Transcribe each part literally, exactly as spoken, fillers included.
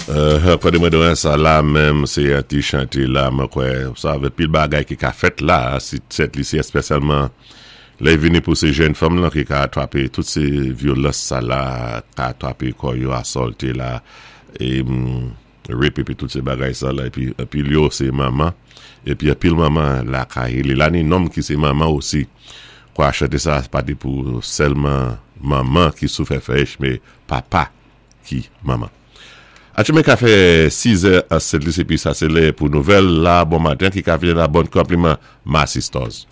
Kote mwen dwen sa la menm, sé yon ti chanté la, mwen kwè, sa avè pil bagay ki ka fèt la, si tèt li si espesyalman lè vini pou sé jèn fanm lan ki ka atwapé tout sé vyolans sa la, ka atwapé kò yo assaulté la, é rape épi tout sé bagay sa la, épi pil yo sé manman, épi pil manman la kay li la ni nonm ki sé manman osi, kwa chanté sa pa di pou sèlman manman ki sou fè fèch, mé papa ki manman. Atchoumen ka fè sis è a sèt épi sa sé lè pou nouvèl la bon maten ki ka vini la bon konpliman Massy Stores.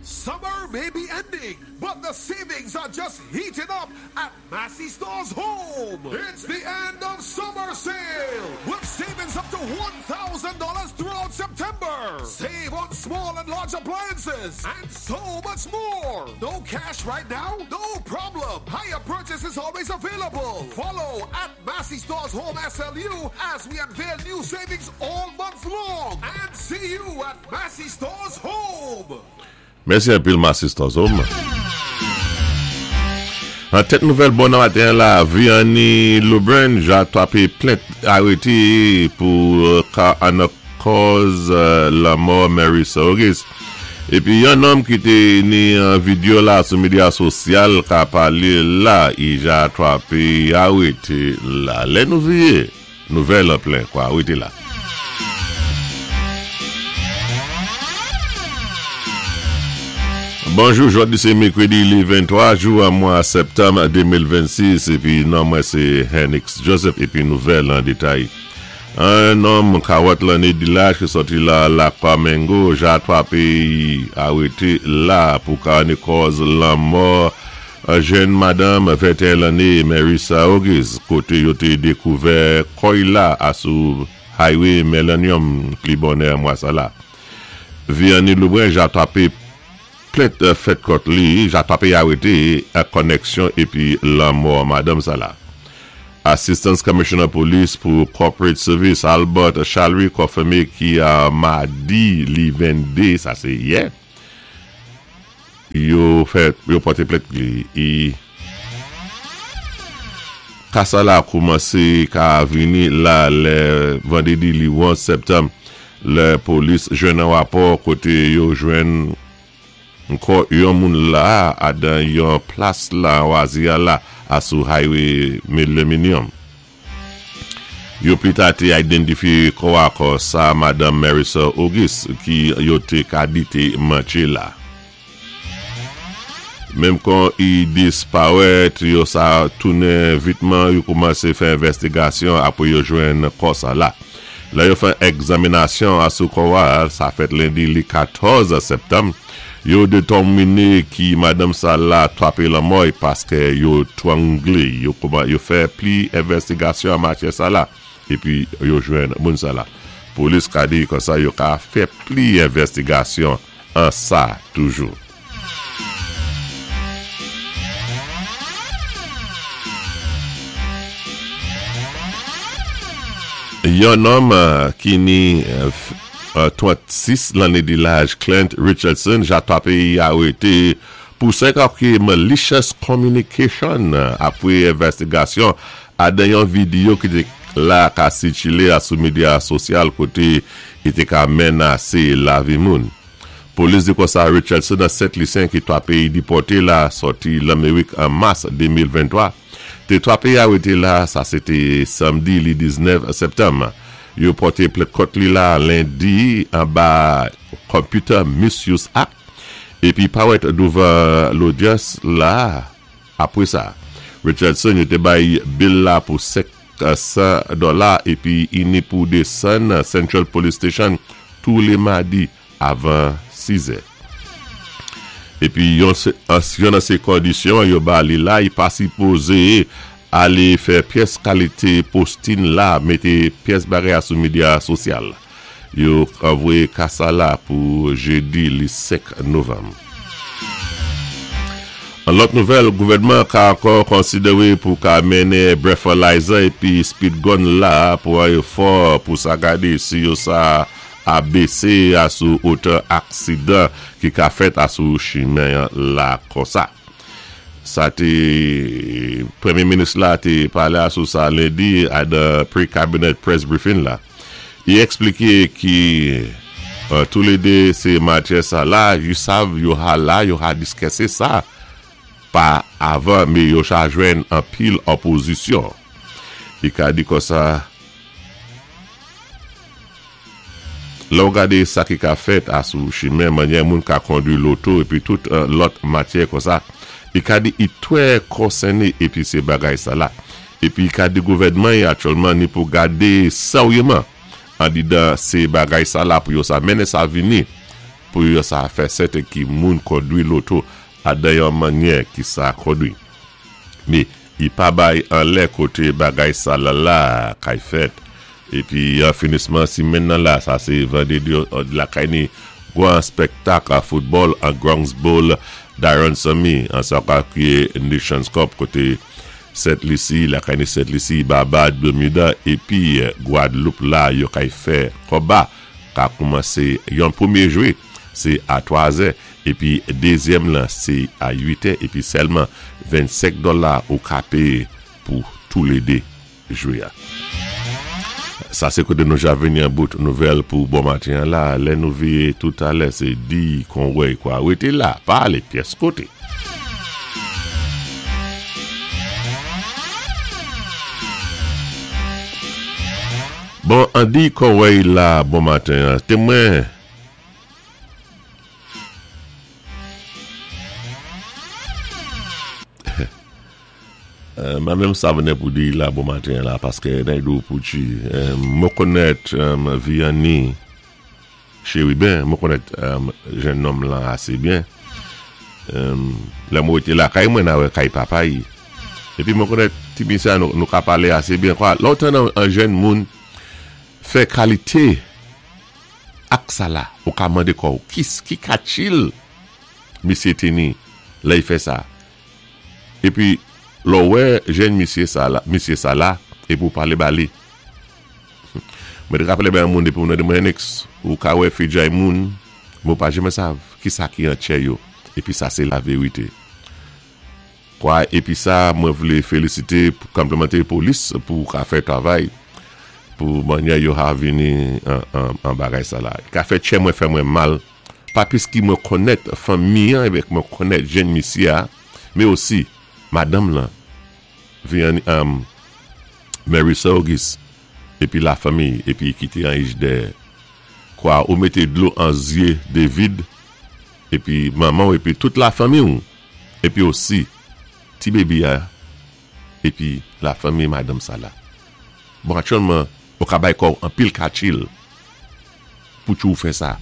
Summer may be ending, but the savings are just heating up at Massy Stores Home. It's the end of summer sale with savings up to one thousand dollars throughout September. Save on small and large appliances and so much more. No cash right now? No problem. Hire purchase is always available. Follow at Massy Stores Home S L U as we unveil new savings all month long. And see you at Massy Stores Home. Mèsi anpil Massy Stores Home. An tèt nouvèl bon maten la, Vianney Lebrun ja twapé plent arété pou ka an kòz lanmò Mary Auguste. Épi yon nonm ki té ni an vidéo la sou médya sosyal ka palé la, i ja twapé arété la. Lè nou viyé, nouvèl an plen kwa, arété la. Bonjou, jòdi sé mèkwédi li venntwa jou an mwa septanm de mil vennsis épi non mwen sé Henix Joseph épi nouvèl an détay. Yon nonm karant lanné di laj ki sòti la Lakwa Mengo ja twapé arété la pou ka ni kòz lanmò jèn madanm venteyen lanné Marissa Auguste koté yo té dékouvè kò i la asou Highway Millennium pli bonè mwa sa la. Vianney Lebrun ja twapé plent fèt kont li, ja twapé arété an koneksyon épi lanmò madanm sa la. Assistant Commissioner Police pou Corporate Service Albert Chalry konfimé ki a madi li venndé, sa sé yè, yo fè, yo pòté plent li. I ka sa la koumansé ka vini la lè vandrédi li onz septanm, lè polis jwenn an rapò koté yo jwenn kò yon moun la adan yon plas la wazia la asou Highway Millennium. Yo pli ta te identifiye kò a kò sa Madame Marissa Auguste ki yo te ka di te mantché la. Menm kon i disparèt, yo sa tounen vitman, yo koumansé fè envèstigasyon apwé yo jwenn kò sa la. La yo fè egzaminasyon asou kò a, sa fèt lendi li katòz septanm, yo detèminé ki madanm sa la twapé lanmò paské yo twanglé, yo, yo fè pli envèstigasyon an matyè sa la, épi yo jwenn moun sa la. Polis ka di kon sa yo ka fè pli envèstigasyon an sa toujou. Yon nonm ki ni trannsis lanné di laj Clint Richardson ja twapé arété pou senk ki malicious communication apwé envèstigasyon adan yon vidéo ki té la ka sikilé a sou médya sosyal koté i té ka menasé lavi moun. Polis di kon sa Richardson a Sent Lisyen ki twapé dipòté la sòti Lamérik an mas de mil venntwa. Té twapé arété la, sa sé té samdi li diznèf septanm. Yo pòté plent kont li la lendi anba Computer Misuse Act épi parèt douvan lodyans la apwé sa. Richardson yo té bay bail la pou senk san dola épi i ni pou désann Central Police Station tou lé madi avan sis è. Épi yon, yon nan sé kondisyon yo ba li la, i pa sipozé alé fè pyès kalité posting la, mété pyès bagay sou médya sosyal. Yo anvoyé ka sa la pou jédi li senk novanm. An lòt nouvèl, gouvèdman ka ankò konsidéwé pou ka mennen breathalyzer épi speed gun la pou an efò pou sa gadé si yo sa a bésé asou otan aksidan ki ka fèt asou chimen la kon sa. Sa té Pwémyé Minis la té palé sou sa lendi a the pre-cabinet press briefing la. I ekspliké ki euh, toulédé sé matyè sa la, yo sav yo ha la, yo ha diskisé sa pa avan, mé yo cha jwenn anpil opozisyon. I ka di konsa, lè ou gadé sa ki ka fèt asou chimen, mannyè moun ka kondwi loto épi tout euh, lòt matyè konsa, i ka di i twè konsèné épi sé bagay sa la. Épi i ka di gouvèdman yi aktyèlman ni pou gadé seryéman andidan sé bagay sa la pou yo sa mennen sa vini pou yo sa fè sèten ki moun kondwi loto adan yon mannyè ki sa kondwi. Mé i pa bay an lè koté bagay sa la la kay fèt. Épi an finisman simenn nan la, sa sé vandédi lakay ni gwan spektak a foutbòl an Gronks Bowl Darren Sammy an sa ka kriye Nations Cup koté Sent Lisi, lakay ni Sent Lisi, Barbad, Bermuda épi Guadeloupe la yo kay fè konba ka koumansé yon pwémyé jwé sé a twa zè épi dézyèm lan sé a uit è épi sèlman vennsenk dola ou ka péyé pou toulédé jwé a. Sa sé koté nou ja vini an bout nouvèl pou bon maten la, lè nou véyé toutalè sé di kon wè kwa wété la, pa alé pyès koté. Bon, an di kon wè la bon maten, témwen mwen menm sa vènè pou di la bon maten la, paské nan dou pou ti, mwen konnèt Vianney Chérubin, mwen konnèt jenn nonm lan asé byen. Lè mwen té lakay mwen nan wè kay papa yi. Épi mwen konnèt ti misyé nou, nou ka palé asé byen kwa. Lè ou tann an jenn moun fè kalité ak sa la, ou ka mandé kò ou, ki, ki katchil misyé té ni lè i fè sa. Épi lò wè jenn misyé sa la, misyé sa la, épi ou palé ba li. Mwen té rapélé ben moun dépi moun de mwen ou ka wè fijay moun, mwen pa janmè sav ki sa ki an tchè yo. Épi sa sé la vérité. Kwa, épi sa mwen vlé félisité pou konplimanté polis pou ka fè travay pou mannyè yo ha vini an, an, an bagay sa la. Ka fè tchè mwen fè mwen mal, pa piski mwen konnèt fanmi an avèk mwen konnèt jenn misyé a, mé osi madanm lan Vianney, um, Mary Auguste épi la fanmi épi kité an ij dèyè. Kwa ou mété dlo an zyé David épi manman épi tout la fanmi ou épi osi ti bébé a épi la fanmi madanm sa la. Bon, aktyèlman ou ka bay kò anpil katchil pou tjou fè sa.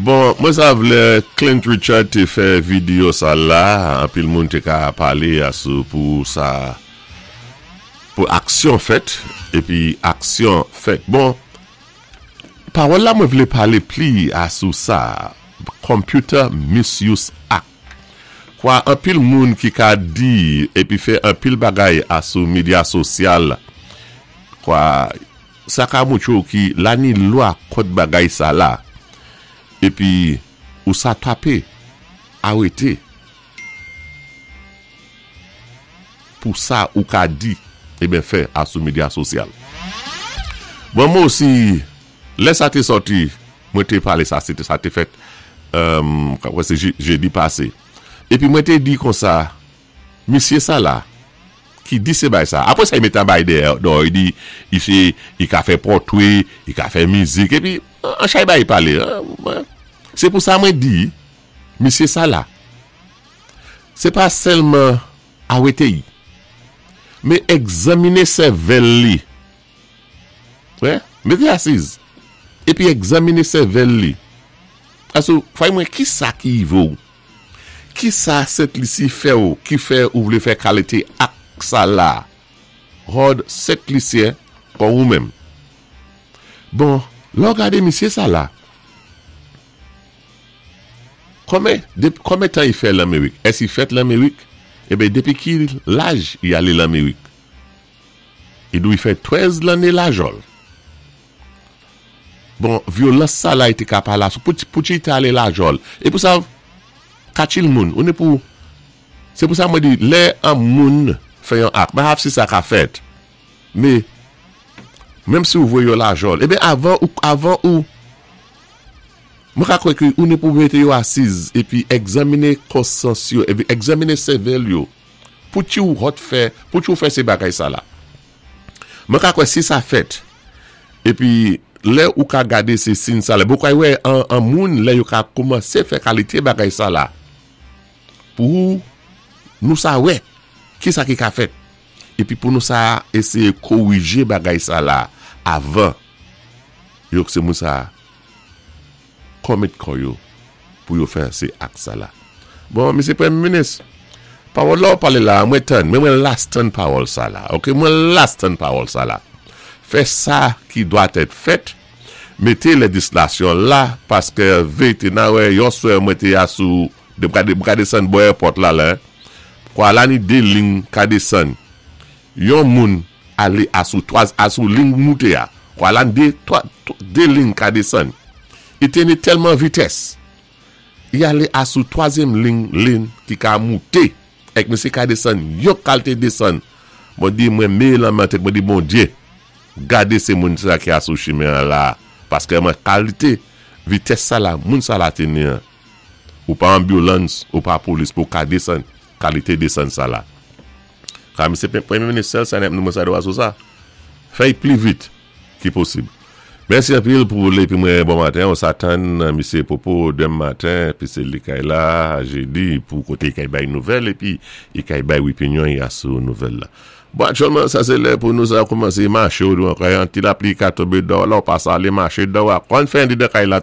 Bon, mwen sa vlé Clint Richard té fè vidéo sa la, anpil moun té ka palé asou pou sa pou aksyon fèt épi aksyon fèt. Bon, pawòl la mwen vlé palé pli asou sa, Computer Misuse Act. Kwa anpil moun ki ka di épi fè anpil bagay asou medya sosyal, kwa sa ka moutré ou ki la ni lwa kont bagay sa la. Épi ou sa tapé, arété. Pou sa ou ka di, eh ben fè asou medya sosyal. Bon, mwen osi, lè sa té sòti, mwen té palé sa, sé sa té fèt, euh, sé jédi pasé. Épi mwen té di konsa, misyé sa la, ki di sé bay sa. Apwé sa, i mété an bay dèyè, don, i di, i sé, i ka fè pòtwé, i ka fè mizik, épi, an chay bay palé. Sé pou sa mwen di, misyé sa la, sé pa sèlman arété yi, mé egzaminé sèvèl li. Wè, mété asiz. Épi egzaminé sèvèl li. Asou, fay mwen, ki sa ki i vo? Ki sa Sent Lisi fè ou, ki fè ou vlé fè kalité ak sa la? Ròd Sent Lisyen kon ou menm. Bon, lò gadé misyé sa la. Konmen, konmen tan i fè Lamérik? Ès i fèt Lamérik? Eh ben, dépi ki laj i alé Lamérik? I dou i fè trèz lanné la jòl. Bon, vyolans sa la i té ka pa la, pou, pou ti té alé Lajòl. É pou sa, kachil moun, ou ni pou, sé pou sa mwen di, lè an moun fè yon ak, mwen hap si sa ka fèt, mé, menm si ou voyé yo Lajòl, ében avan ou, avan ou, mwen ka kwè ki ou ni pou mété yo asiz, épi egzaminé konsyans yo, épi egzaminé sèvèl yo, pou ti ou hot fè, pou ti ou fè sé bagay sa la. Mwen ka kwè si sa fèt, épi, lè ou ka gadé sé sin sa la, bo kwa wè an, an moun lè yo ka koumansé fè kalité bagay sa la, pou nou sa wè, ki sa ki ka fèt, épi pou nou sa éséyé kowijé bagay sa la, avan, yo sé moun sa commit kò yo, pou yo fè sé ak sa la. Bon, Misye Pwémyé Minis, pawòl la ou palé la, mwen tann, mwen mwen las tann pawòl sa la, ok, mwen las tann pawòl sa la. Fè sa ki dwa èt fèt, mété léjislasyon la, paské vété nan wè, yon swè mwen té ya sou, de mka ka désann bò airport la la, kwa la ni dé ling ka désann, yon moun alé asou twaz, asou ling mouté ya, kwa la ni dé, twa, dé ling ka désann, i té ni tèlman vitès, i alé asou twazyèm ling, ling ki ka mouté, èk misyé ka désann, yon kalité désann, mwen di mwen mé lan men tèt, mwen di Bondyé, gadé sé moun sa ki asou chimen an la, paské mwen kalité vitès sa la, moun sa la té ni an. Ou pa ambulance, ou pa polis pou ka désann, kalité désann sa la. Ka misye Pwémyé Minis sèl sa nèp nou mwen sa do asou sa. Fè'y pli vit ki posib. Mèsi anpil pou lé pi mwen bon maten, on s'atann misye Popo denmen maten, pi sé li kay la, jédi, pou koté kay bay nouvèl, épi i kay bay opinyon y asou nouvèl la. Bon, aktyèlman, sa sé lè pou nou sa koumansé maché ou dou an kay, an ti lapli ka tonbé dò, la ou pa sa alé maché dò, kon fè an di de kay la.